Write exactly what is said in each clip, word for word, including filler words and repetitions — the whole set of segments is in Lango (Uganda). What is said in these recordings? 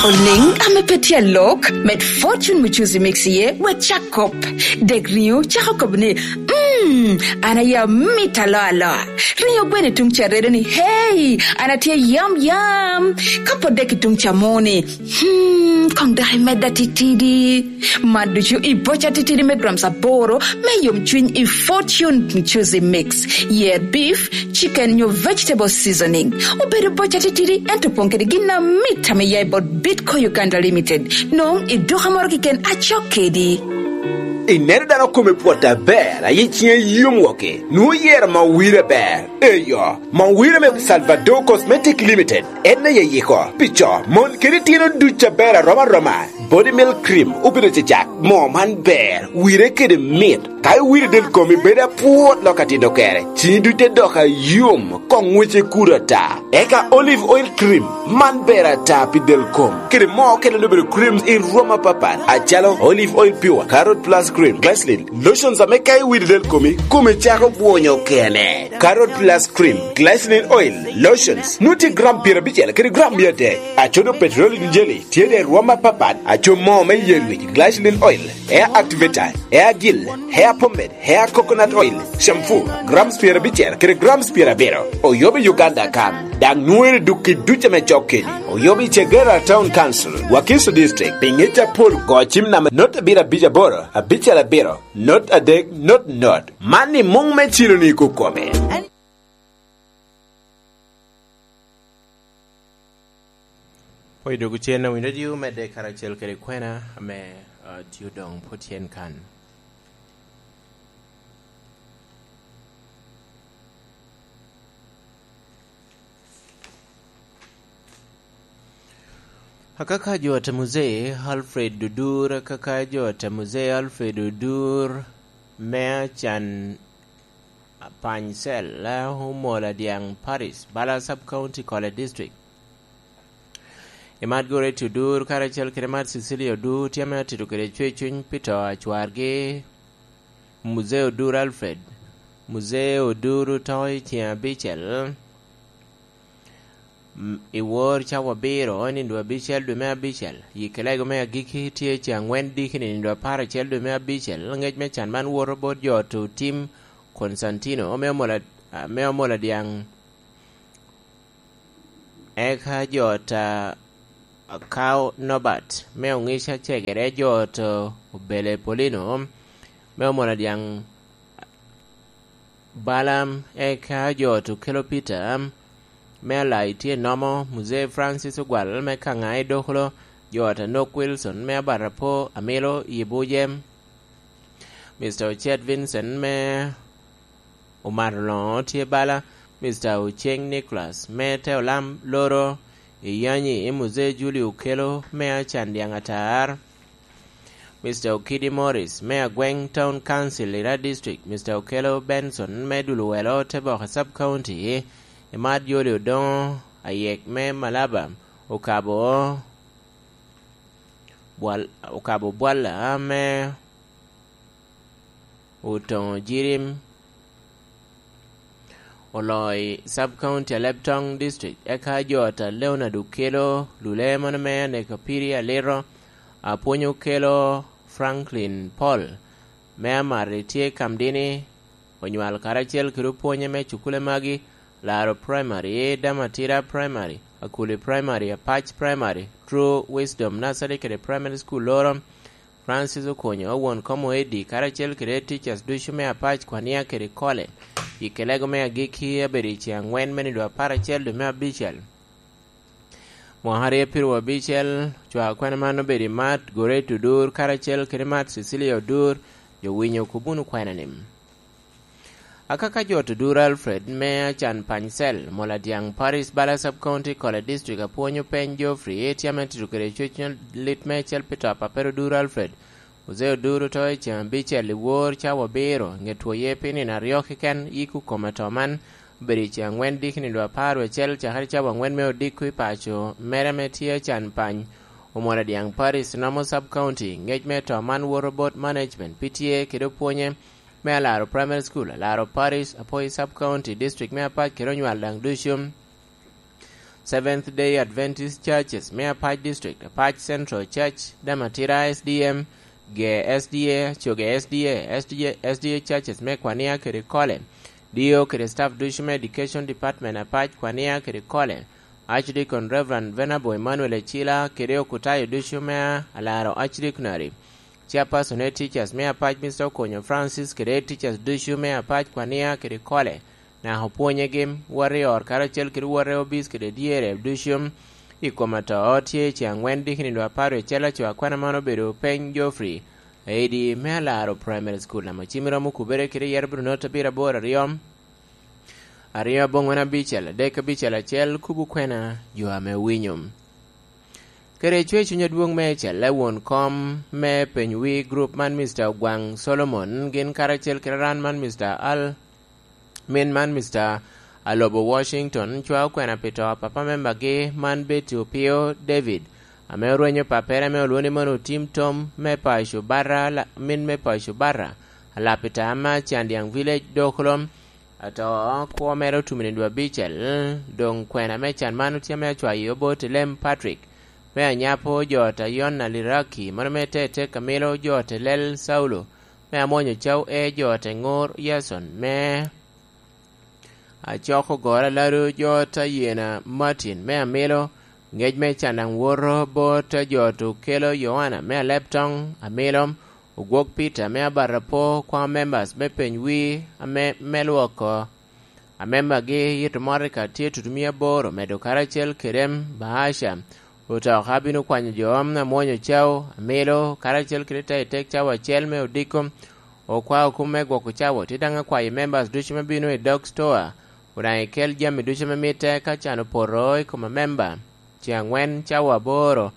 Oliŋ ame pe tye alok, med fortune mucuzi mix iye, wek cak kop. Dek riŋo cako kobo ni, "Mm, an aye amit aloa aloa." Riŋo gweno i tuŋ ca redo ni, "Hey, an atye yam yam." Ka pwod dek i tuŋ ca mo ni, "Hmm, koŋ dok imedda titidi." Man ducu i boca titidi me grams aboro me yomcwiny i fortune mucuzi mix. Yer beef, chicken nyo vegetable seasoning. Obedo boca titidi, ento opoŋ kede gin amit ame ya i bot Bitco Uganda Limited. Nwoŋo i duka moro keken acok kedi. Ineno dano kome pwot aber, aye ciŋe yom woko, nwoŋo yero ma wire aber. Eyo, ma wire me Salvador Cosmetic Limited, en aye yiko pi co, mon kede itino duc aber arom aroma. Body Milk Cream obedo cacak, moo man ber, wire kede mit. Ka iwiro del komi bedo apwot lok atito kere, ciŋi duc te dok ayom, koŋ ŋwece kuto ata. Eka Olive Oil Cream, man ber ata pi del kom. Kede moo okene obedo creams i rwom apapat, acalo Olive Oil Pure, Carrot Plus Cream, Glycerin, lotions ame ka iwiro del komi, komi cako bwonyo kene. Carrot Plus Cream, Glycerin Oil, lotions, nwoŋo tye gram pyerabicel kede gram mia adek. Acodo petroleum jelly, tye de rwom apapat, aco moo me yer wic, glycerin oil, hair activator, hair gel, hair pomade, hair coconut oil, shampoo, grams pyerabicel kede grams pyerabiro. Oyobo i Uganda kan, daŋ nwoŋere duk i duc ame cok keni. Oyobo i Chegera Town Council, Wakiso District, pi ŋec apol go cim namba not abiro abic aboro, abicel abiro, not adek, not not. Man i muŋ me cilo ni i kukome. Pwony dok ocen a Winy Radio medde karacel kede kwena ame, ah, tye odoŋ pwod tyen kan. Akaka jo ata Muzee Alfred Odur, akaka jo ata Muzee Alfred Odur, me acan Pany Cell, eh, Omola Dyaŋ Parish, Bala Sub County, Kole District. I mat Goretti Odur, karacel kede mat Cecilia Odur, tye ame atito kede cwercuny pi to a cwargi, Muzee Odur Alfred. Muzee Odur oto i ceŋ abicel, m-, i wor cawa abiro, nino abicel dwe me abicel. Yikke lego me agikki tye ceŋ aŋwen diki nino apar acel dwe me abicel. Ŋec me can man woto bot jo oto tim Konstantino, me Omola, me Omola Dyaŋ. Eka jo ot a Kao Nobat, me Oŋica Cegere, jo ot Obele Polino, me Omola Dyaŋ Balaam, eka jo ot Okelo Peter, me Alai tye Nomo, Muzee Francis Ogwal, me Kaŋa i Dokolo, jo ot Anok Wilson, me Abat Apo, Amilo, i Buje, Mister Ocet Vincent, me Omato Loŋo tye bala, Mister Oceng Nicholas, me te olam loro i Yanyi, i Muzee Julio Okelo, me Acan Dyaŋ Atar, Mister Okidi Morris, me Agweng Town Council, Ira District, Mister Okelo Benson, me Dulowelo, te boko Sub County, i mat Joli Odoŋo, Ayek, me Malaba, okabo, bwal-, okabo bwalla, me Otoŋo Jirim, Oloi Sub County, Alebtong District, eka jo ata Leonard Okelo, Lule, mano me Aneka Piri Aliro, Apwony Okelo, Franklin Paul, me Amari tye Kamdini, onywal karacel kede opwonye me cukule magi, Laro Primary, Damatira Primary, Akuli Primary, Apac Primary, True Wisdom Nursery kede Primary School loro, Francis Okonyo, won kom Oedi, karacel kede teachers ducu me Apac, Kwania kede Kole. Yikke lego me agikki abedo i ceŋ aŋwen me nino apar acel dwe me abicel, mwaka aryo pirwa abicel. Cwak kwena man obedo i mat Goretti Odur, karacel kede mat Cecilia Odur, jo winyo kobunu kwena ni. Akaka jo ot Odur Alfred, me Acan Pany Cell, Mola Dyaŋ Parish, Bala Sub County, Kole District, apwonyo peny Geoffrey, tye ame tito kede cwec lit me cel pi to a pappere Odur Alfred. Muzee Odur oto i ceŋ abicel i wor cawa abiro, ŋet two ye pi nino aryo keken, yiko kome to man obedo i ceŋ aŋwen diki nino apar wecel, cakere cawa aŋwen me odiko i paco mere ame tye Acan Pany, Omola Dyaŋ Parish, Nomo Sub County. Ŋec me to man woto bot management pi tye kede opwonye me Alaro Primary School, Alaro Parish, Apoi Sub County, District me Apac kede onywal daŋ ducu. Seventh Day Adventist Churches me Apac District, Apac Central Church, Damatira S D M, ge S D A, coge S D A, S D A, S D A Churches me Kwania kede Kole, D O kede staff ducu me Education Department Apac, Kwania kede Kole, Archdeacon Reverend Venerable Emmanuel Ecila kede okutayo ducu me alaro Archdeaconry, Chairperson Head Teachers me Apac, Mister Okonyo Francis, kede Head Teachers ducu me Apac, Kwania kede Kole, naka opwonyegi, wot i ot karacel kede wot i obic kede dyere ducu i kom ato tye ce aŋwen dikini dwe apar wiye acel aco akwena man obedo Peny Geoffrey, aidi me alaro Primary School ame cimmi romo kubere kede yero bino note abiro aboro aryo, aryo aboŋwen abicel adek abicel acel kubo kwena jo ame owinyo. Kede cwer cuny adwoŋ me celle won kom me peny wi group man Mister Ogwaŋ Solomon gin karacel kede ran man Mister Al min man Mister Alobo Washington cwao kwena pi to a papa membagi man Betty Opio David, ame orwenyo pappere ame olwoŋo ni mono Otim Tom me paco Barra, la-, min me paco Barra, alapita ma Candiaŋ Village, Dokolo. Ato kwo mere otumo i dwe abicel, doŋ kwena me can man otye ame acwayo bot Lem Patrick, me anyapo jo ta Yona Liraki, mono me te tek amilo jo ta Lel Saulo, me amwonyo caw e jo ta Ŋor Yason, me acoko goro alado jo ta Yena Martin, me amilo ŋec me can daŋ woto bot jo ta Okelo Yoana, me aleb toŋ amilo, Ogwok Peter, me abat apo, kwao members me peny wi, ame, me lwoko. Amembagi yito Monica tye tutumia aboro, medo karacel kede bahasha, otoka bino kwanyo jo, amwonyo cao, amilo, karacel kede te i tek cawa acel me odiko, okwao kum me gwoko cawa, tye daŋ akwayo members ducu me bino i dog store, odaŋ ikel jami ducu ame mitte ka can opoto i kom amemba. Ceŋ aŋwen cawa aboro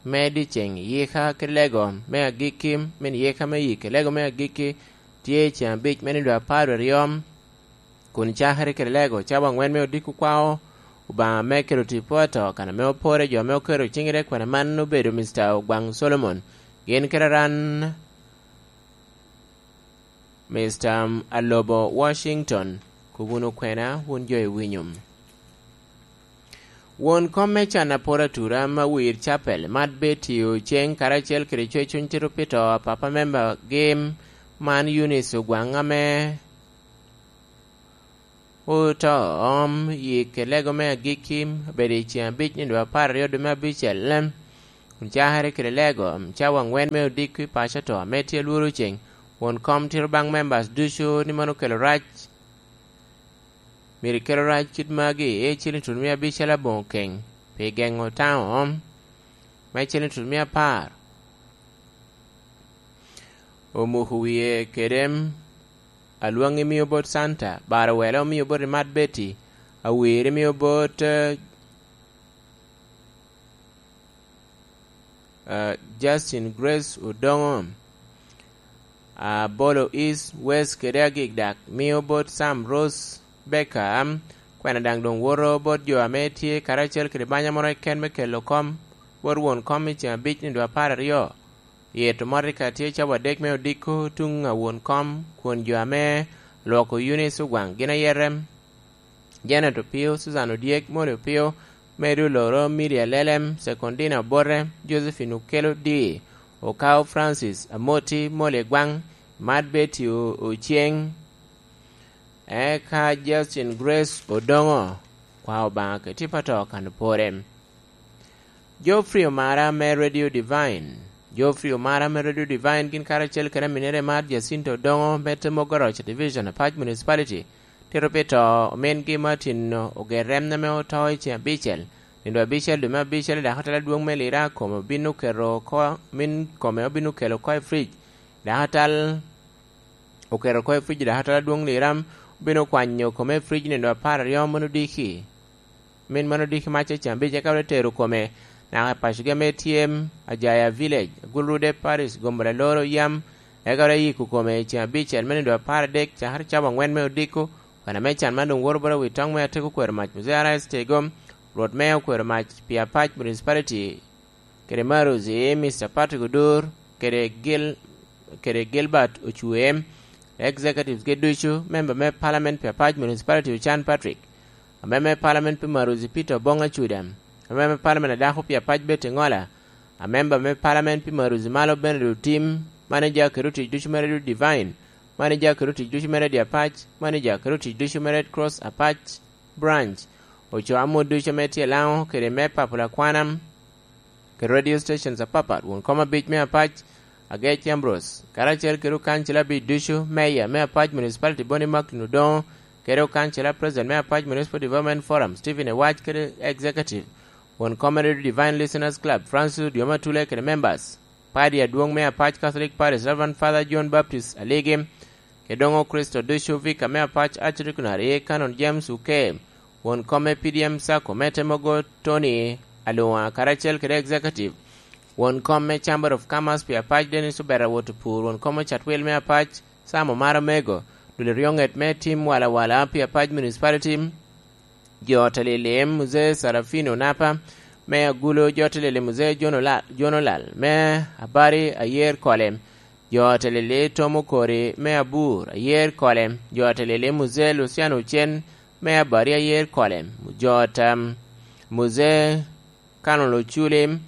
me dyeceŋ yika ki lego me agikki, min yika me yik ki lego me agikki tye ceŋ abic me nino apar aryo, kun cakere kede lego cawa aŋwen me odiko kwao Obaŋa me kelo tipo ato, kan ame opore jo ame oketo ciŋere kwene man obedo Mister Ogwaŋ Solomon, gin kede ran Mister Alobo Washington, kub wunu kwena, wun jo iwinyo. Won kom me can apor atura ma wir capel, Mat Betty Oceng, karacel kede Cwecony Tito Pito, papa memba gim man Eunice Ogwaŋ ame oto om yik i lego me agikki, obedo i ceŋ abic nino apar aryo dwe me abicel, kun cakere kede lego cawa aŋwen me odiko i paco ato ame tye lworo ceŋ. Won kom tito baŋ members ducu ni mano okelo rac. Myero ikelo rac kit magi, i ciliŋ tutumia abicel aboŋo keŋ pi geŋo taŋo om me ciliŋ tutumia apar. Omuko wie kede alwaŋ imio bot Santa, baro wele omio bot Mat Betty, awir imio bot, eh, eh, Justin Grace Odongo, Abolo East, West kede Agikdak, mio bot Sam Rose Becker, kwena daŋ doŋ woto bot jo ame tye karacel kede banya moro keken me kelo kom bot won kom i ceŋ abic nino apar aryo. Yito Monica tye cawa adek me odiko tuŋ a won kom, kun jo ame lwoko Eunice Ogwaŋ gin aye rem Janet Opio, Susan Odyek, Molly Opio, Mary Oloro, Mary Alelem, Secondina Obote, Josephine Okelo Dii, Okao Francis Amoti, Molly Gwaŋ, Mat Betty O-, Oceng, eka Justin Grace Odongo, kwa Obaŋa keti pato kan pore. Geoffrey Omara me Radio Divine. Geoffrey Omara me Radio Divine gin karacel kede aminere mar Jacinto Odongo me Temogoroc Division, Apac Municipality, tito pi to omingi Martin Ogerem ame oto i ceŋ abicel, nino abicel dwe me abicel i dakatala adwoŋ me Lira kome obin oketo oko, min kome obin okelo oko i fridge. Dakatal oketo oko i fridge, dakatal adwoŋ Lira obin okwanyo kome i fridge nino apar aryo mono diki. Min mano diki mac i ceŋ abic, eka wot etero kome naka i pacogi ame tye Ajaya Village, Agulrude Parish, Gombola Loro Yam, eka wot eyiko kome i ceŋ abicel me nino apar adek, cakere cawa aŋwen me odiko, kan ame can man doŋ woto bot awi toŋ me ateko kwero mac, Muzee Arais Tego, Rwot Meya okwero mac pi Apac Municipality, kede Marozi, Mister Patrick Odur, kede Gil-, kede Gilbert Ocwee, executives gi ducu, member me Parliament pi Apac Municipality Ochan Patrick, Amemba me Palamen pi Maruzi Peter Obong Acuda, amemba me Palamen a dako pi apac Betty Ngola, amemba me Palamen pi Maruzi Malo Bernard Otim, maneja kede otic ducu me Radio Divine, maneja kede otic ducu me Radio Apac, maneja kede otic ducu me Red Cross Apac Branch, ocoo amut ducu ame tye i Laŋo kede me Papula Kwanam, kede radio stations apapat, won kom abic me Apac, Agec Ambrose, karacel kede okancila abic ducu, meya me Apac Municipality Boni Macklin Odongo, kede okancila president me Apac Municipal Development Forum, Stephen Ewac, kede executive, won kom me Radio Divine Listeners Club, Francis Odyoma Atule, kede members, padi adwoŋ me Apac Catholic Parish, Reverend Father John Baptist Aligi, kede doŋ Okricito ducu, Vicar me Apac Archdeaconry, Canon James Uke, won kom me P D M Sacco, me Temogo Tony Alua, karacel kede executive, won kom me Chamber of Commerce pi Apac Dennis Obeta Wot Opur, won kom me Catwil me Apac Sam Omar Omego, dul eryoŋet me tim walawala pi Apac Municipality, jo Talili Mzee Sarafino Napa, me Agulo, jo Talili Mzee John Ola-, John Olal, me Abari Ayer Kole, jo Talili Tom Okori, me Abur Ayer Kole, jo Talili Mzee Luciano Ocen, me Abari Ayer Kole, jo ta Mzee Canon Oculi,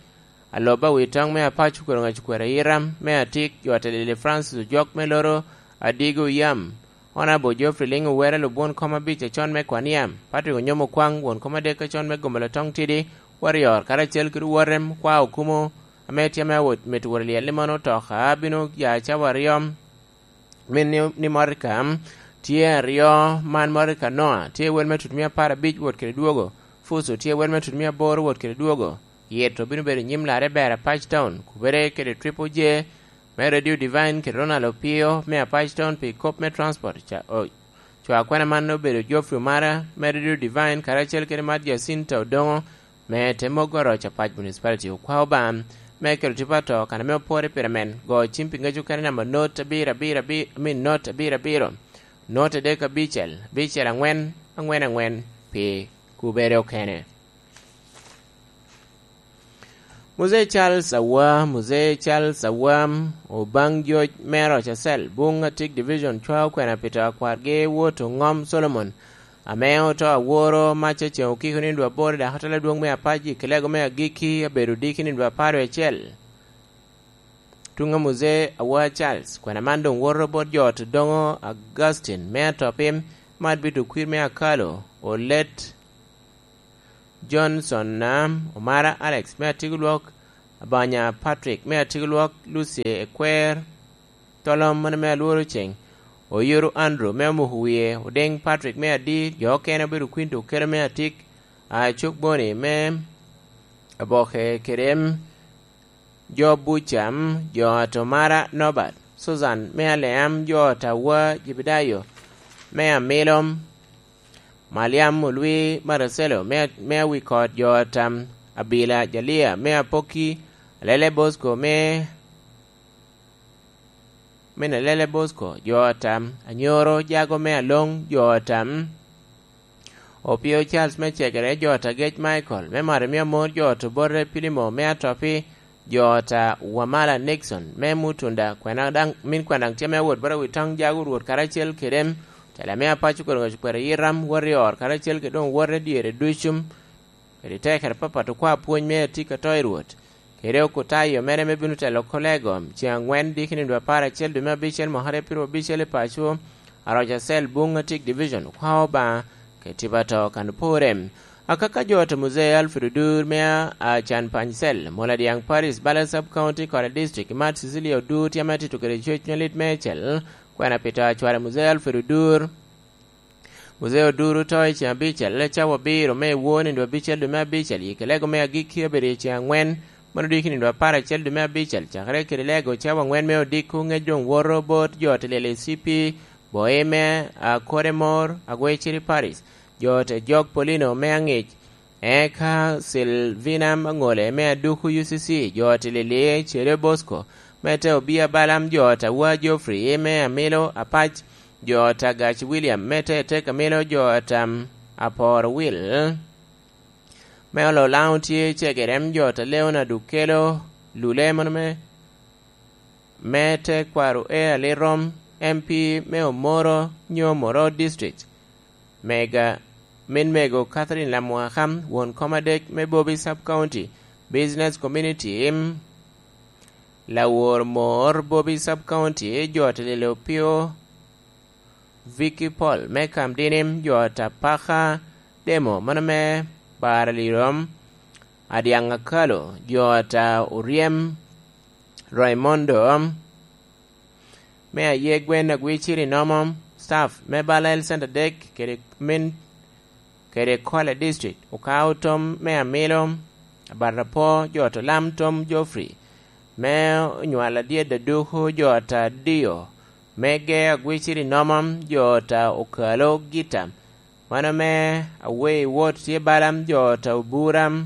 Aloba Witoŋ me Apac Okwero Ŋaci Kwero Ayira, me Atik, jo Talili Francis Ojok, me Loro Adigo Yam, Honorable Geoffrey Liŋ Owera, lubwon kom abic acon me Kwania, Patrick Onyomo Kwaŋ, won kom adek acon me Gomolo Toŋ Tidi, Warrior, karacel kede Warem, Kwa Okumo, ame tye ame awot mito wot lyel ni mano otoka, bino ya cawa aryo, min ni, ni Morika tye aryo, man Morika Noa tye wel me tutumia apar abic wot kede dwogo, Fuso tye wel me tutumia aboro wot kede dwogo, Yeto bino bedo i nyim larre ber Apac Town, kubere kede Triple J, me Radio Divine kede Ronald Opio, me Apac Town pi kop me transport, ca, o, Cwa kwena man obedo Geoffrey Omara, me Radio Divine, karacel kede Mad Jacinta Odongo, me te mogo Oroc Apac Municipality. Okwa Obaŋa me kelo tipo ato kan ame opwore pire men, go cim pi ŋec okene namba not abiro abiro abiro, I mean, not abiro abiro, not adek abicel, abicel aŋwen, aŋwen aŋwen, pi kubere okene. Muzee Charles Awa, Muzee Charles Awa, Obaŋ Joc me Roca Cell, Buŋ Atik Division, cwao kwena pi to akwargi Wot Oŋom Solomon, ame oto aworo mac aceŋ okiko nino dwe aboro i dako tala adwoŋ me Apac i Kilego me agikki, abedo diki nino dwe apar wie acel. Tuŋ a Muzee Awa Charles, kwena man doŋ woto bot jo Odoŋo Augustine me Atopi, Mad Bito Kwir me Akalo, Olet Johnson, Omara Alex me Atigolwok, Abanya Patrick me Atigolwok, Lucy Ekwer, Tolom mano me Alworo Ceng, Oyuru Andrew me Omoko Wie, Odeng Patrick me Adi, jo okene obedo kwin to okelo me Atik, Acuk Boni me Aboke kede em, jo Bucam, jo Atomara Norbert, Susan me Aleam, jo Tawa Jebedayo me Amilom, Maliam Olwi Maracelo me, me Awikot, jo Atam Abila Jalia me Apoki, Alele Bosco me, me Alele Bosco, jo Atam Anyoro Jago me Aloŋ, jo Atam Opio Charles me Cegere, jo Atagec Michael me Marimia Amor, jo Otobote Pilimo me Atopi, jo ta Wamala Nixon me Mutunda, kwena daŋ, min kwena daŋ tye me wot bot Awitoŋ Jago Rwot karacel kede em, tela me Apaco Koroŋo Cukwero Yiram, wot i or karacel kede doŋ wote dyere ducu, kede tekere papat okwa pwony me atik ato i Rwot, kede okutayo mere me bino telo kolego, ceŋ aŋwen diki nino dwe apar acel dwe me abicel mwaka aryo pyero abicel i paco, Aroca Cell, Buŋ Atik Division, okwa Obaŋa, kede tipo ato kan opore. Akaka jo ta Muzee Alfred Odur me a, a Can Pany Cell, Mola Diaŋ Paris, Bala Sub County, Kora District, Mat Cecilia Odur, tye ame atito kede cwec me lit meicel, kwena pi to acware Muzee Alfred Odur. Muzee Odur oto i ceŋ abicel, cawa abiro me won i dwe abicel dwe me abicel, i kelego me agikki obedo i ceŋ aŋwen, mano diki nino dwe apar acel dwe me abicel, cakere kede lego cawa aŋwen me odiko, ŋec doŋ woto bot jo te lyel i C P, Boime, Akodemor, Agweciri Paris, jo te jok Polino me aŋic, eka Silvina Maŋole me aduku U C C, jo te lyel i Cere Bosco, me te Obia Balam, jo ta Wa Geoffrey me Amilo Apac, jo ta Gac William, me te tek Amilo, jo ta Aporo Will, me olo Laŋo tye Cegerem, jo ta Leonard Okelo Lule, mano me, me te kwaro e Alirom, M P me Omoro, nyo Moro District, mega Min mego Catherine Lamwaka, won kom adek me Bobi Sub County Business Community, lawor mor Bobi Sub County, jo ata Lilopio, Vicky Paul me Kamdinim, jo ata Paka Demo, mano me Baralirom, Adyaŋ Akalo, jo ata Oryem, Raimondo, me aye Gwen Agwiciri Nomo, staff me Bala Health Center dek kede min kede Kwale District, okao tom me amilo, abat apor, jo ata Lam Tom Geoffrey, me onywal adyeet aduku, jo ata Dio, me Ge Agwiciri Nomo, jo ata Okalo Gita, mano me Awei Wot tye bala, jo ata Obura,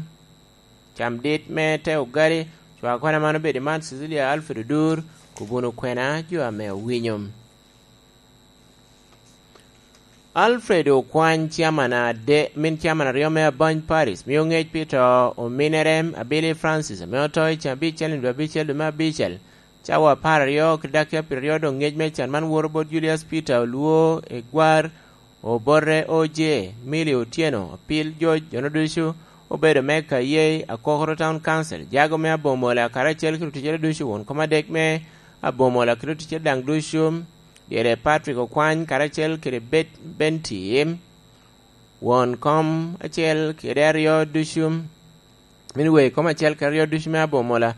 Cam dit me te ogali, cwak kwana man obedo i man Cecilia Alfred Odur, kubuno kwena jo ame owinyo. Alfred Okwany, ciaman ade, min ciaman aryo me Abany Paris, mio ngec pi to ominere Abili Francis, ame oto i can abicel i dwe abicel dwe me abicel, cawa apar aryo kede dakika pyeraryo doŋ ngec me can man woro bot Julius Peter Olwo Egwar, Obote O J, Milly Otieno, Apil George, jono ducu obedo me Kayei, Akokoro Town Council, jago me Abomola, karacel kede oticere ducu, won kom adek me Abomola kede oticere daŋ ducu, dyere Patrick Okwany, karacel kede Bet-, Benty, won kom acel kede aryo ducu, min wei kom acel kede aryo ducu me Abomola,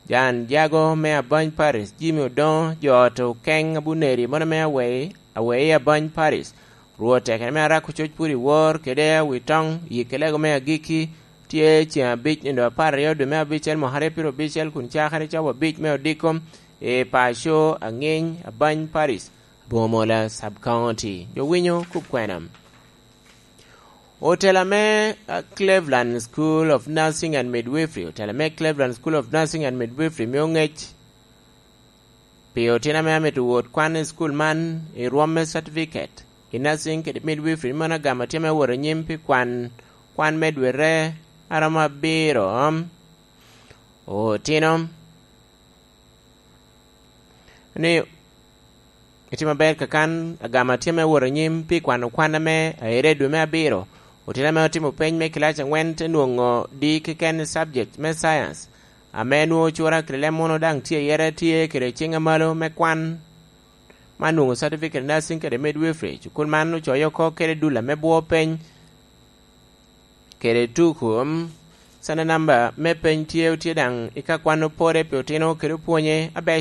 Jan Jago me Abany Paris, Jimmy Odoŋo, jo ot Okeŋ Abuneri, mono me Awei, Awei Abany Paris. Rwot tekere me Arako Coc Pur i Wor, kede Awitoŋ, Yikelego me Agikki, tye ceŋ abic nino apar aryo dwe me abicel mwaka aryo pyero abicel, kun cakere cawa abic me odiko, i paco Aŋiny, Abany Paris, Abomola Sub County. Jo winyo kop kwena. Otela me, uh, Cleveland School of Nursing and Midwifery, otela me Cleveland School of Nursing and Midwifery mio ngec pi otino ame amito wot kwan i school man i rwom me certificate i nursing kede midwifery, mano agamo tye me wot anyim pi kwan, kwan me dwete aromo abiro. Otino ni itimo aber kakan, agamo tye me wot anyim pi kwano kwan ame aire i dwe me abiro. Otino ame otimo peny me kilac angwen te nwoŋo di keken i subject me science, ame nwoŋo cura kede leb munu daŋ tye iye, tye kede ciŋ amalo me kwan, man nwoŋo certificate nursing kede midwifery. Cukul man ocoyo oko kede dul ame bwo peny kede tuku, mm, sana namba me peny tye, otye daŋ i ka kwan opore pi otino kede opwonye aber.